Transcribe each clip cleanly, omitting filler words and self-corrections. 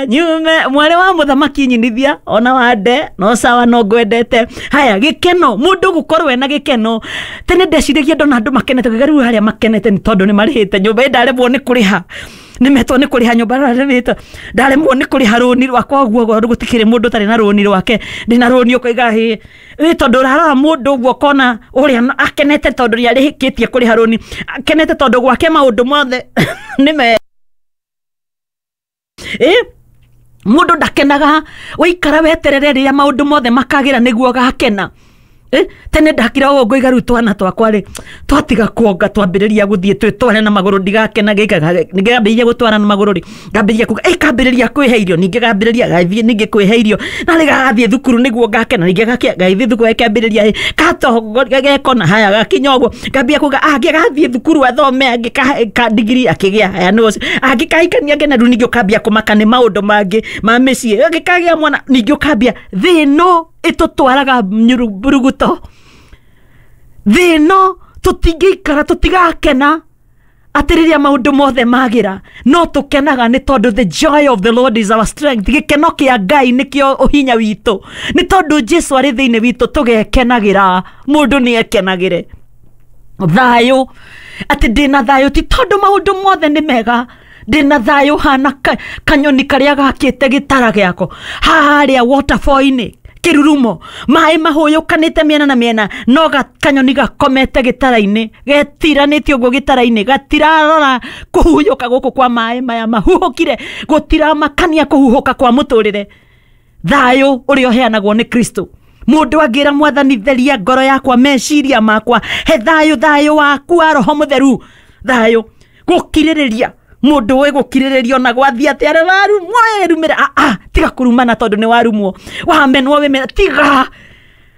Nyume mwarĩ wa mũthamaki nyinithia ona wande no sawa no ngwendete. Haya, gĩkeno, mũndũ gũkorwo ena gĩkeno. Tene ndeciragia ndona andũ makenete ngauga rĩu harĩa makenete nĩ tondũ nĩ marĩhĩte nyũmba, ĩ ndaremwo nĩ kũrĩha, nĩ metwo nĩ kũrĩha nyũmba, ndaremwo ndaremwo nĩ kũrĩha rũni rwakwa ũguo gũtikĩrĩ mũndũ ũtarĩ na rũni rwake. Ndĩna rũni ũkoiga hĩ ĩ tondũ ũrarora mũndũ ũguo ũkona ũrĩa akenete tondũ nĩ arĩkĩtie kũrĩha rũni, akenete tondũ gwake maũndũ mothe nĩ me ĩ mũndũ ndakenaga waikara weterere rĩrĩa maũndũ mothe makagĩra nĩguo ũgakena. Tene ndakira ũguo ngoiga rĩu twana twakwa rĩ twatiga kuonga twambĩrĩria gũthiĩ twĩtware na magũrũ ndigakena, ngambĩrĩria gũtwara na magũrũ rĩ, ngambĩrĩria kuga ĩ kambĩrĩria kwĩhe irio, ningĩ gambĩrĩria gathiĩ ningĩ kwĩhe irio, narĩ gagathiĩ thukuru nĩguo ngakena, ningĩ gathiĩ thukuru gakĩambĩrĩria ĩ katongoria gekona haya gakinya ũguo, ngambia kuga angĩ gathiĩ thukuru athome, angĩ ka degree akĩgĩa haya nĩ ũcio, angĩ kahikania ngena, rĩu ningĩ ũkambia kũmaka nĩ maũndũ mangĩ ma mĩciĩ, angĩ kagĩa mwana, ningĩ ũkambia thĩ ĩno ĩtũtwaraga mburuguto, thĩ ĩno tũtingĩikara tũtigakena atĩ rĩrĩa maũndũ mothe magĩra, no tũkenaga nĩ tondũ the joy of the Lord is our strength. Gĩkeno kĩa Ngai nĩkĩo ũhinya witũ, nĩ tondũ Jesu arĩ thĩinĩ witũ tũgekenagĩra. Mũndũ nĩ ekenagĩre. Thayũ, atĩ ndĩna thayũ ti tondũ maũndũ mothe nĩ mega, ndĩna thayũ hana kanyoni karĩa gakĩte gĩtara gĩako harĩa waterfall-inĩ, kĩrurumo, maĩ mahũyũkanĩte mĩena na mĩena, no kanyoni gakomete gĩtara-inĩ, getiranĩtie ũguo gĩtara-inĩ, gatirarora kũhuhũka gũkũ kwa maĩ maya mahuhũkire, gũtiramakania kũhuhũka kwa mũtũrĩre. Thayũ ũrĩa ũheanagwo nĩ Kristo. Mũndũ angĩra Mwathani theria ngoro yakwa, meciria makwa, he thayũ, thayũ waku wa Roho Mũtheru, thayũ gũkirĩrĩria. Mũndũ ũĩ gũkirĩrĩria ona gwathiĩ atĩa, arĩa warumwo ĩrumĩre, tiga kũrumana tondũ nĩ warumwo, wamenwo wĩmena, tiga,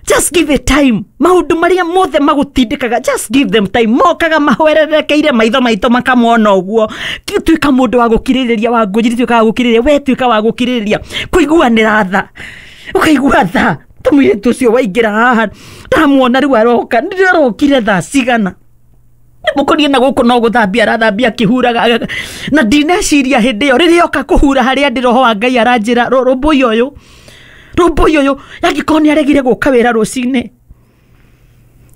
just give it time. Maũndũ marĩa mothe magũtindĩkaga, just give them time, mokaga mahwererekeire maitho maitũ makamona ũguo. Tuĩka mũndũ wa gũkirĩrĩria, wa ngũnjiri, tuĩka wa gũkirĩrĩria, we tuĩka wa gũkirĩrĩria, kũiguanĩra tha, ũkaigua tha ta mũirĩtu ũcio waingĩra haha, ndamuona rĩu aroka, ndĩrarokire thaa cigana mũkorie na gũkũ no gũthambia arathambia akĩhuraga, na ndineciria hĩndĩ ĩyo rĩrĩa oka kũhura harĩa ndĩ, roho wa Ngai aranjĩra rũmbũiya ũyũ, rũmbũiya ũyũ, yangĩkorwo nĩ aregire gũka wĩra rũcinĩ,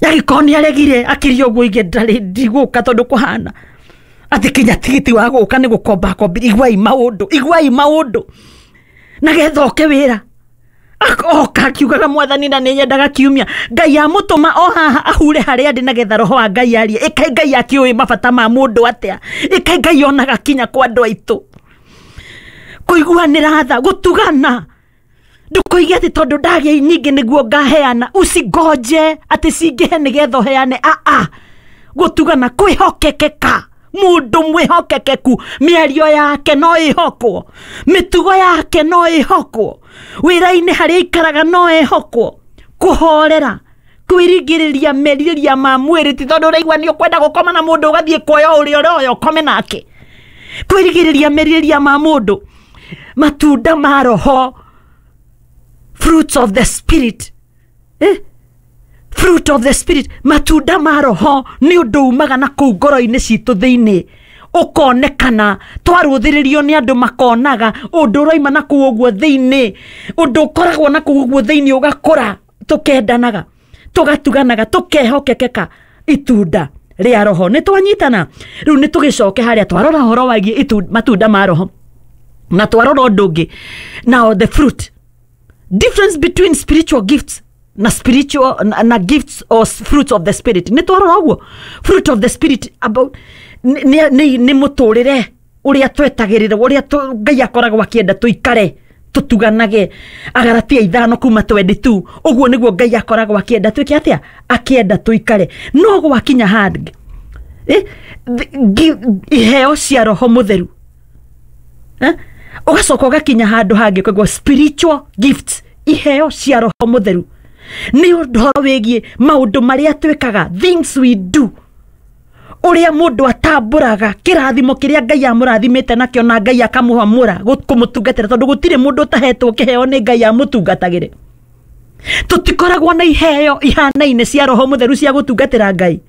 yangĩkorwo nĩ aregire akĩria ũguo ige ndarĩ ndigũka tondũ kũhana atĩ kinya tigiti wa gũka nĩ gũkomba kombire. Iguai maũndũ, iguai maũndũ, na getha oke wĩra oka akiugaga Mwathani na nĩ nyendaga kiumia, Ngai amũtũma o haha ahure harĩa ndĩ nagetha roho wa Ngai arie. Ĩkai Ngai akĩũĩ mabata ma mũndũ atĩa, ĩkai Ngai onaga kinya kwa andũ aitũ. Kũiguanĩra tha, gũtugana, ndũkoige atĩ tondũ ndagĩa nyingĩ nĩguo ngaheana, usingoje atĩ cingĩhe nĩgetha ũheane. Aa, gũtugana, kwĩhokekeka, mũndũ mwĩhokekeku, mĩario yake no ĩhokwo, mĩtugo yake no ĩhokwo, wĩra-inĩ harĩa aikaraga no ĩhokwo, kũhorera, kwĩrigĩrĩria merirĩria ma mwĩrĩ, ti tondũ ũraigua nĩ ũkwenda gũkoma na mũndũ ũgathiĩ kuoya ũrĩa ũroya ũkome nake, kwĩrigĩrĩria merirĩria ma mũndũ. Matunda ma roho, fruits of the spirit, Fruit of the spirit, matunda ma roho nĩ ũndũ umaga na kũu ngoro-inĩ citũ thĩinĩ, ũkonekana twarũthĩrĩrio nĩ andũ makonaga ũndũ ũroima na kũu ũguo thĩinĩ, ũndũ ũkoragwo na kũu ũguo thĩinĩ ũgakũra, tũkendanaga, tũgatuganaga, tũkehokekeka, itunda rĩa roho. Nĩ twanyitana rĩu, nĩ tũgĩcoke harĩa twarora ũhoro wĩgiĩ matunda ma roho na twarora ũndũ ũngĩ. Now the fruit, difference between spiritual gifts na spiritual na gifts or fruits of the spirit. Nĩ twarora ũguo fruit of the spirit about nĩ mũtũrĩre ũrĩa twetagĩrĩra, ũrĩa Ngai akoragwo akĩenda tũikare, tũtuganage. Agaratia 5 kuma 22, ũguo nĩguo Ngai akoragwo akĩenda twĩke atĩa, akĩenda tũikare. No gwakinya handũ iheo cia roho mũtheru, ũgacoka ũgakinya handũ hangĩ koguo spiritual gifts, iheo cia roho mũtheru nĩ ũhoro wĩgiĩ maũndũ marĩa twĩkaga, things we do, ũrĩa mũndũ atambũraga kĩrathimo kĩrĩa Ngai amũrathimĩte nakĩo na Ngai akamũhamũra kũmũtungatĩra, tondũ gũtirĩ mũndũ ũtahetwo kĩheo nĩ Ngai amũtungatagĩre. Tũtikoragwo na iheo ihanaine cia roho mũtheru cia gũtungatĩra Ngai.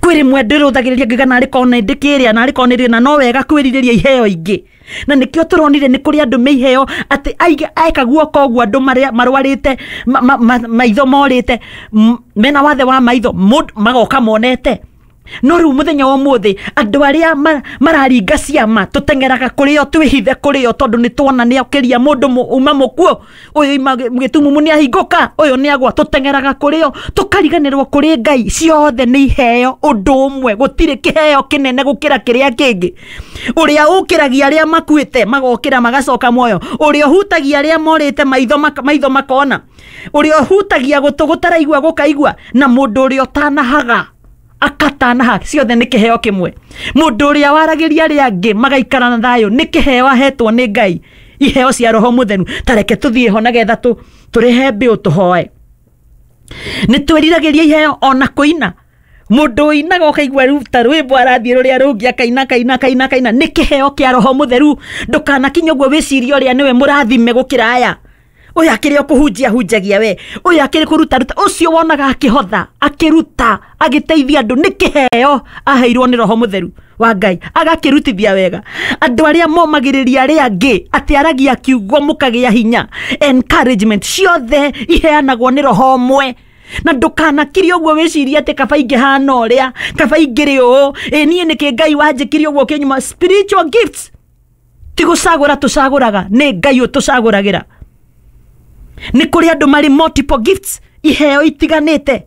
Kwĩ rĩmwe ndĩrũthagĩrĩria ngiuga narĩ korwo nĩ ndĩkĩrĩa, narĩ korwo nĩ rĩ, na no wega kwĩrirĩria iheo ingĩ. Na nĩkĩo tũronire nĩ kũrĩ andũ me iheo atĩ eka guoko ũguo andũ marĩa marwarĩte, maitho morĩte, mena wathe wa maitho, magoka monete. No rĩu mũthenya wa ũmũthĩ andũ arĩa mararinga ciama tũteng'eraga kũrĩ o, twĩhithe kũrĩ o, tondũ nĩ tuona nĩ okĩria mũndũ uma mũkuũ, ũyũ ima gĩtumumu nĩ ahingũka, ũyũ nĩ agwa, tũteng'eraga kũrĩ o, tũkariganĩrwo kũrĩ Ngai. Ciothe nĩ iheo ũndũ ũmwe, gũtirĩ kĩheo kĩnene gũkĩra kĩrĩa kĩngĩ. Ũrĩa ũkĩragia arĩa makuĩte magokĩra magacoka muoyo, ũrĩa ũhutagia arĩa morĩte maitho maitho makona, ũrĩa ũhutagia gũtũ gũtaraigua gũkaigua, na mũndũ ũrĩa ũtanahaga akatanaha, ciothe nĩ kĩheo kĩmwe. Mũndũ ũrĩa waragĩria arĩa angĩ magaikara na thayũ nĩ kĩheo ahetwo nĩ Ngai, iheo cia Roho Mũtheru. Ta reke tũthiĩ ho nagetha tũrĩhe mbĩũ tũhoe. Nĩ twĩriragĩria iheo ona kũina. Mũndũ ũinaga ũkaigua rĩu ta rwĩmbo arathiĩ rũrĩa rũngĩ akaina, akaina, akaina, akaina, nĩ kĩheo kĩa Roho Mũtheru. Ndũkanakinye ũguo wĩcirie ũrĩa nĩwe mũrathime gũkĩra aya. Ũyũ akĩrĩ o kũhunjia hunjagia we, ũyũ akĩrĩ kũruta ruta, ũcio wonaga akĩhotha, akĩruta, agĩteithia andũ, nĩ kĩheo aheirwo nĩ Roho Mũtheru wa Ngai, agakĩrutithia wega. Andũ arĩa momagĩrĩria arĩa angĩ, atĩ aragia kiugo mũkagĩa hinya, encouragement ciothe iheanagwo nĩ Roho ũmwe. Na ndũkanakirie ũguo wĩcirie atĩ kaba ingĩhana ũrĩa, kaba ingĩrĩ ũũ, ĩ niĩ nĩkĩ Ngai wanjĩkire ũguo kĩnyuma. Spiritual gifts ti gũcagũra tũcagũraga, nĩ Ngai ũtũcagũragĩra. Nĩ kũrĩ andũ marĩ multiple gifts, iheo itiganĩte.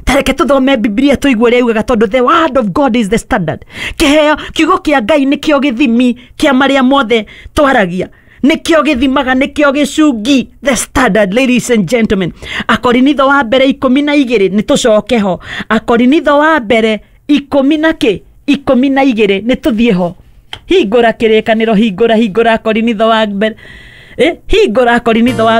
Ta reke tũthome Bibilia tũigue ũrĩa yugaga, tondũ the word of God is the standard. Kĩheo, kiugo kĩa Ngai nĩkĩo gĩthimi kĩa marĩa mothe twaragia, nĩkĩo gĩthimaga, nĩkĩo gĩcungi, the standard. Ladies and gentlemen, Akorinitho wa mbere 12, nĩ tũcoke ho. Akorinitho wa mbere ikũmi na kĩ, 12, nĩ tũthiĩ ho. Hingũra kĩrĩkanĩro, hingũra, hingũra Akorinitho wa mbere, hingũra Akorinitho wa